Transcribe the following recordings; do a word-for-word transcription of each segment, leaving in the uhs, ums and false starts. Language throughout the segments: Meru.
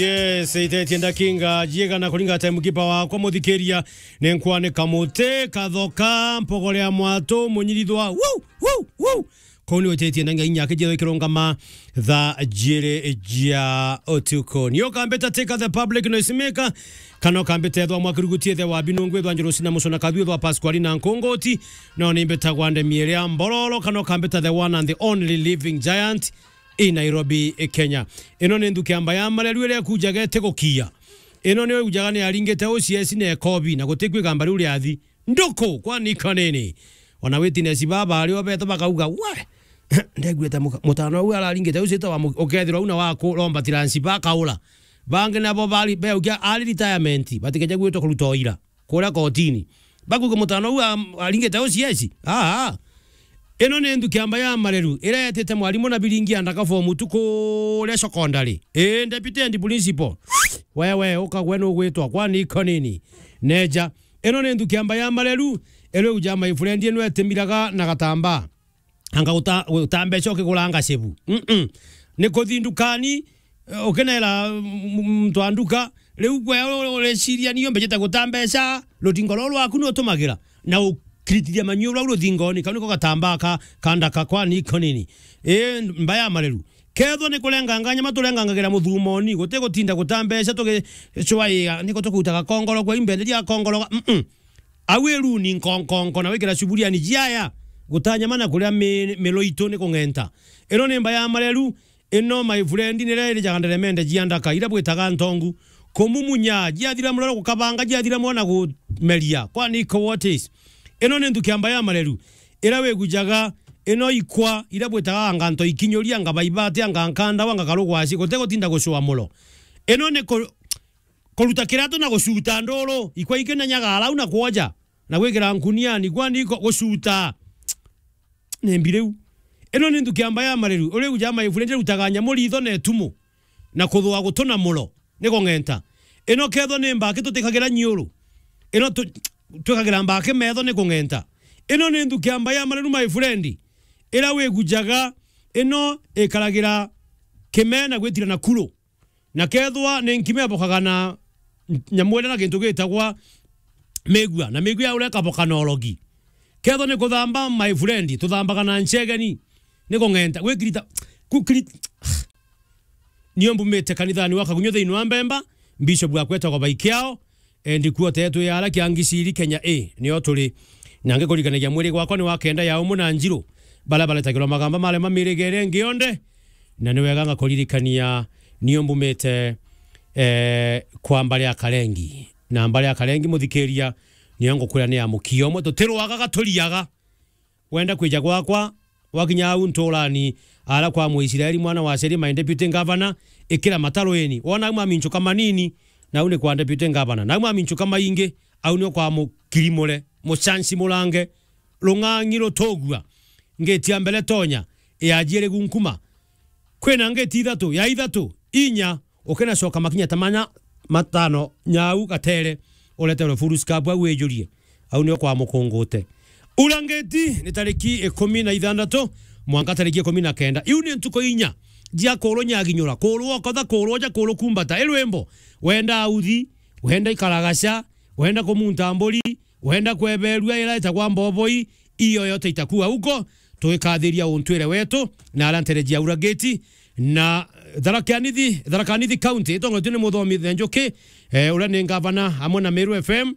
Yes, itetie ndakinga jiegana kuringa time kipa wakwa muthikiria. Nenkwane kamuti, kathoka, mpogore ya mwatu, munyirithwa. Woo, woo, woo. Kuu ni utetie na ngai nyake jethwa ikirungama thaa jiri jia utuku. Ni ukambita tika the public noise maker, kana ukambita ethwa mwakirugutie the wa binungu ethwa Njuru sina mucona kathu ethwa Pasquali na Nkungoti, no ni mbitagwa ndemi iria mbororo, kana ukambita the one and the only living giant in Nairobi, Kenya. Ino ni nthuki amba ya mareru iria ikujaga itigukia. Ino ni ujaga ni aringite ucieci na ekobi, na gutikwigamba riu riathi. Nduku, kwani kanini. Ona witness baba ari o beto bakauga, "We, ndeguite muka-, mutano uu araringite ucio etawa mu-, ukethirwa una waku romba tiransi bakaura." Bangi nabo bari, beukia ari retirement, batikeje gwitwa kuruta o ira kuria kotini. Bakuga mutano uu am-, aringite ucio eci. Aa. Ino ni nthuki amba ya mareru, iria yetite mwarimu na biringi ya ndaka form two kuria secondary. Ii, deputy and principal. Wewe, uka gwe nugwitwa, kwani kanini. Neja. Ino ni nthuki amba ya mareru, iria uja my friend ino etimiraga na gatambaa. Anga uta-, utambeca ukiguranga cebu. Mm-mm. Ni kuthi ndukani, eh, ukinera, mm, muntu wa nduka, riu gwe u-, u-, ureciria nio mbejete gutambeca, rutingo ruu rwaku ni utumagira, na ukiritithia manyu rau ruthingoni, kau niko gatambaa ka, ka ndaka kwani kanini. Ii, mba ya mareru. Kethwa ni kurenganga nyama turengangagira muthumoni, guti gutinda gutambeca tugicwaia, niko tukutaga kongoro kwa imbenderia kongoro, mm-mm. Au iruni nkonkonko na wikira cuburiani jiaya, gutanyama na kuria mi-, milo itu ni kung'enta. Ino ni mba ya mareru, ino my friend ni riria irijaga nderemende jia ndaka, iria bwitaga ntongu. Kumumunya, jiathira muroro gukabanga, jiathira mwana gumeria. Kwani iko what is? Ino ni nthuki amba ya mareru, iria wigujaga, ino ikwa, iria bwitaga anga nto ikinyuria, anga baibati, anga nkanda, anga karugwasi, gute gutinda gucua mulo. Ino ni ku-, kuruta kiratu na gucuta nduru, ikwa ikinenyaga arau na kwoja, na gwikira nkuniani, kwani iko gucuta. Ni mbi riu. Ino ni nthuki amba ya mareru, uriu ja my friend irutaga nyamu ritho na itumu, na kuthua gutu na mulo, ni kung'enta. Ino kethwa ni mbaki tutikagira nyiuru, ino tu-, twikagira mbaki metho ni kung'enta. Ino ni nthuki amba ya mareru, my friend, iria wigujaga, ino ikaragira kime na gwitira na kuru. Na kethwa ni nkima ibokaga na nyamu iria na gintu gitagwa migua, na migua ya uria ikaboka na urogi. Kethwa ni kuthamba, my friend, tuthambaga na ncegeni. Ni kung'enta, gwikirita, kukiri-, nio mbumite kanithani wa Kagunyo thiini wa Mbemba, Bishop wa kwetagwa Baikiao, endi kuo tetu ya ara kia Ngiciri Kenya A, nio turi. Na ngikurikanagia mwiri gwakwa ni wa kenda ya umwe na njiru, baria baretagirwa magamba marema mirigere ngi yonthe, na ni wega ngakuririkania nio mbumite, eh, kwa mbari ya Karengi. Na mbari ya Karengi, muthikiria, nio ngukwira ni ya mukio umwe, tutirwaga gaturiaga. Wenda kwija gwakwa, wakinya au nturani, ara kwa Muisraeli mwana wa Seri, my deputy governor, ikira mataruini. Wona au maminchuka manini, nau ni kwa deputy governor. Nau maminchuka maingi, au nio kwa mukirimure, mucanci murange, rung'ang'i rutugua. Ngiti ya mbere tonya, ya jiiri gunkuma. Kwina ngiti ithatu, ya ithatu, inya, ukinacoka makinya ta mana, matano, nyau gatere, ureterwe full scab au wijurie. Au nio kwa mukungute. Ura ngiti ni tariki ikumi na ithanthatu, mwanka tariki ikumi na kenda. Iu ni ntuku inya, jia kurwo nyaginyura, kurwo okotha, kurwo ja, kurwo kumbata. I rwimbo, wenda authi, wenda ikaragaca, wenda kumunta mburi, wenda kweberua ira itagwa mboboi, iyo yote itakuwa huko. Tugikathiria untwire wetu, na aria ntere jia Ura Gate, na Tharaka Nithi, Tharaka Nithi County, itongoretue ni Muthomi Njuki, eh, uria ni ngavana, amwe na Meru F M.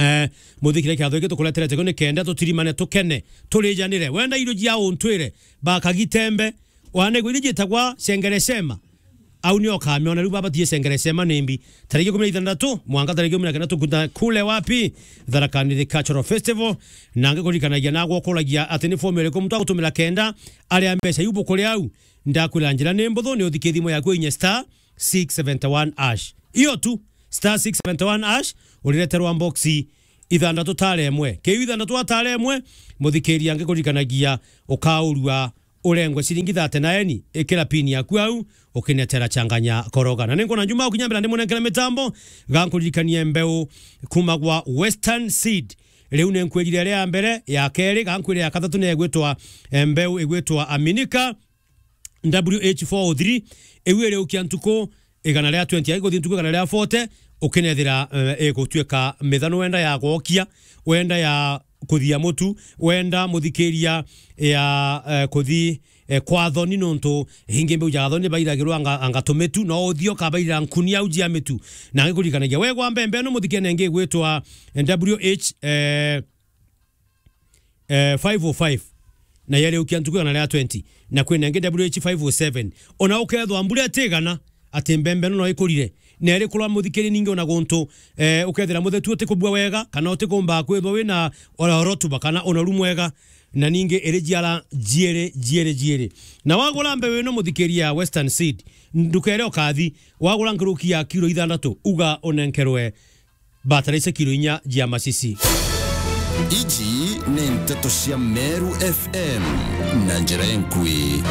Eh, muthikire kiatho giki tukureterete kio ni kenda tutirimane, tukene, turijanire. Wenda irio jia untwire, bakagitembe, wanegwa irio jitagwa cengerecema. Au nio ukamiona riu baba tie cengerecema ni mbi. Tariki ikumi na ithanthatu, mwanka tariki ikumi na kenda tukuta kule wapi? Tharaka Nithi Cultural Festival. Na ngikuririkanagia na gwokuragia ati ni fomu iriku muntu agutumira kenda aria mbeca iu bukuri au. Ndakwira njira ni mbuthu, ni uthikie thimu yaku inye star six seventy one hash. Iyo tu, star six seventy one hash, urireterwa boxi ithanthatu tare imwe. Kiu ithanthatu atare imwe, muthikiria ngikuririkanagia ukaurua urengwe ciringi thate na eni, ikira pin yaku au, ukinetera changanya koroga. Na ninkona njuma ukinya mbere ndimunenkere mitambo, gankuririkanie mbeu kuma gwa Western Seed. Riu ninkwirire iria ya mbere, ya keri, gankwire ya kathatu ni igwitwa, eh, mbeu igwitwa Aminika W H four oh three. Iu iriukia ntuku igana ria twenty, aiguthiĩ ntuku igana ria forty, ukinethira, eh, igutuika mithano wenda ya gwokia, wenda ya kuthia mutu, wenda muthikiria ya, eh, kuthi, eh, kwa thoni, nontu hingi mbeu ja thoni bairagirwa anga, anga tumitu, no uthio kabaira nkuni au jia mitu. Na ngikurikanagia, wegwa mbembe ino muthikene ingi igwitwa, eh, W H, eh, eh, five oh five, na yariukia ntuku igana ria twenty, na kwina ingi W H five oh seven. Ona ukethwa mbura itigana, ati mbembe ino no ikurire, na iri kurwa muthikiri ningi ona guntu, eh, ukethira muthetu utikubua wega, kana utikumba kwithwa wina ora rotuba, kana unoru mwega, na ningi iri jiara jiiri, jiiri, jiiri. Na wagura mbeu ino, muthikiria, ya Western Seed, ndukere ukathi, wagura nkuruki ya kiro ithandatu, uga unenkerwe bataraitha kiro inya jia masisi. Iji ni nteto cia Meru F M na njira inkui.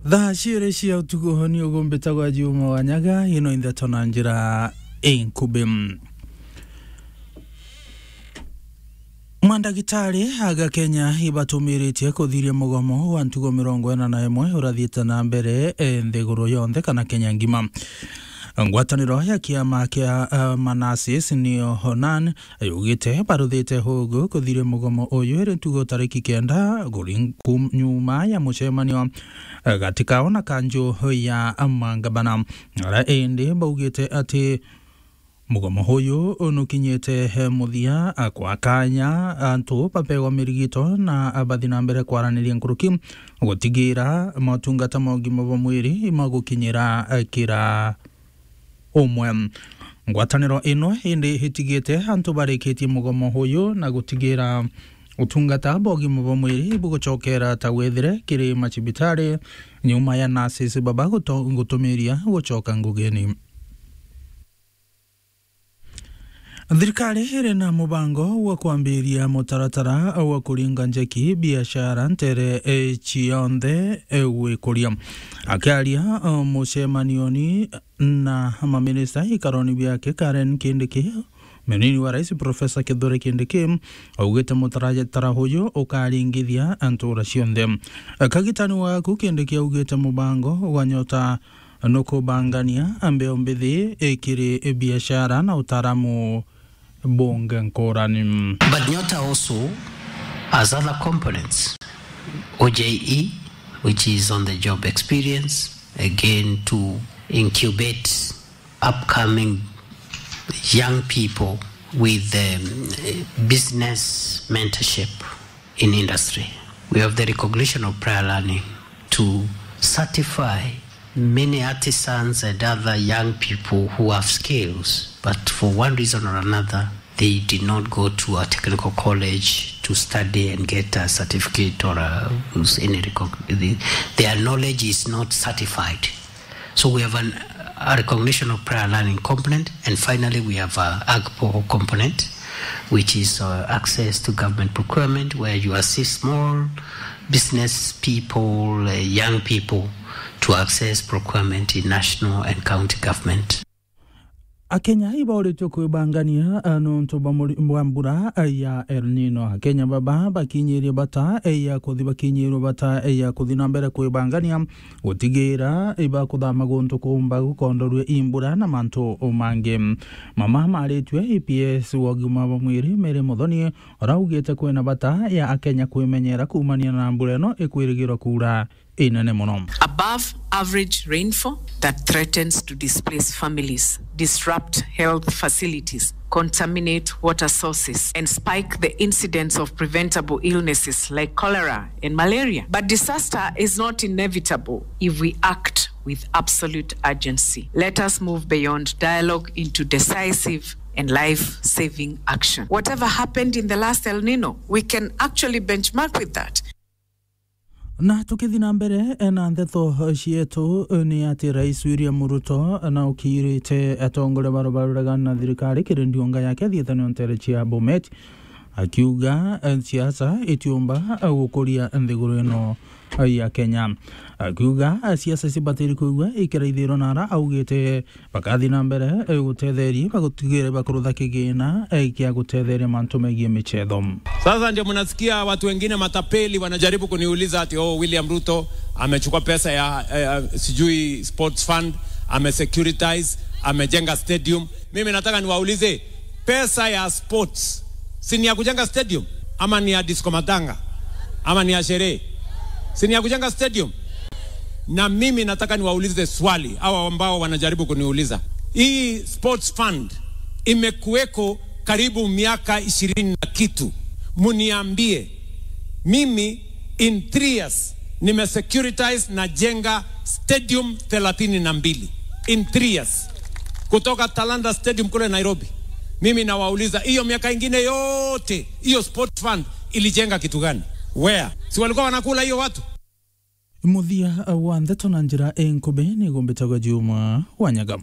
Thaa ciiri cia utuku ni ugumbitagwa Juma wa Nyaga, ino intheto na njira inkubi. Mandagitari aga Kenya ibatumiritie kuthiria mugomo wa ntugo mirongo ina na imwe urathiite na mbere, e, nthiguru yonthe kana Kenya ngima. Ngwataniro ya kiama kia, e, manasis niyo Honan yugite baruthite hugu kuthiria mugomo uyu iri ntugo tariki kenda kuri nku-, nyuma ya mucemanio, e, gati kao na kanju ya mangabana. Ara indi baugite ati mugomo uyu nukinyite muthia, a, kwa kanya antu bapegwa mirigito na bathi na mbere kwaraniria nkuruki gutigira motungata ma ugima bwa mwiri magukinyira, a, kira umwe. Ngwataniro ino indi itigite antu barikitie mugomo uyu na gutigira utungata bwa ugima bwa mwiri bugucokera ta wethire kiri macibitari nyuma ya nurses baba guto-, gutumiria gucoka ngugini. Thirikari iri na mubango wa kwambiria mutaratara wa kuringa njeki biashara ntere, e, cionthe, e, gwikuria. Akiaria, e, mucemanioni na maminista ikaroni biake, Karen Kindiki, munini wa rais Professor Kithure Kindiki augite mutaratara uyu ukaringithia ntura cionthe. Kagitani waku Kindiki augite mubango wa Nyota nukubangania mbeu mbithi ikiri biashara na utaaramu bungi nkurani. But Nyota also has other components, O J E, which is on the job experience, again to incubate upcoming young people with, um, business mentorship in industry. We have the recognition of prior learning to certify many artisans and other young people who have skills, but for one reason or another, they did not go to a technical college to study and get a certificate or a, any recog-, the, their knowledge is not certified. So we have an, a recognition of prior learning component, and finally we have a AGPO component, which is, uh, access to government procurement, where you assist small business people, uh, young people to access procurement in national and county government. Akenya ibauritwe kwibangania, a, nontu bwa muri-, bwa mbura, a, ya El Nino. Akenya baba bakinyirie bata, e, ya kuthi-, bakinyirwe bata, e, ya kuthi na mbere kwibangania gutigira ibakuthama guntu kumba gukondorue i mbura na mantu mangi. Mama maritue E P S wa ugima bwa mwiri Mary Muthoni, uraugite kwina bata ya Akenya kwimenyera kuumania na mbura ino ikwirigirwa kuura inene mono. Above average rainfall that threatens to displace families, disrupt health facilities, contaminate water sources, and spike the incidence of preventable illnesses like cholera and malaria. But disaster is not inevitable if we act with absolute urgency. Let us move beyond dialogue into decisive and life-saving action. Whatever happened in the last El Nino, we can actually benchmark with that. Na tukithi na mbere, e, na ndeto cietu, e, ni ati Rais William Ruto na ukirite atongoria baria baruregana na thirikari kiri ndiunga yake thiethanio ntere cia Bomet, akiuga, e, siasa itiumba, e, gukuria nthiguru ino ya Kenya. Akiuga, siasa cibatiri kuigua ikira ithiro nara augite bakathi na mbere, eh, gutetheria, bagutigire bakurutha kigina, eh, kia gutetheria mantu megie michetho. Sasa ndio mnasikia watu wengine matapeli wanajaribu kuniuliza ati, "Oh, William Ruto amechukua pesa ya, eh, sijui sports fund, amesecuritize, amejenga stadium." Mimi nataka niwaulize, pesa ya sports, si ni ya kujenga stadium? Ama ni ya disco matanga? Ama ni ya sherehe? Si ni ya kujenga stadium? Na mimi nataka niwaulize swali, hawa ambao wanajaribu kuniuliza. Hii sports fund imekuweko karibu miaka ishirini na kitu. Muniambie, mimi in three years nimesecuritize na jenga stadium thelathini na mbili. In three years. Kutoka Talanta Stadium kule Nairobi. Mimi nawauliza, hiyo miaka ingine yote, hiyo sports fund ilijenga kitu gani? Where? Si walikuwa wanakula hiyo watu? Muthia wa ndeto na njira inkubi ni gumbitagwa Juma wa Nyaga.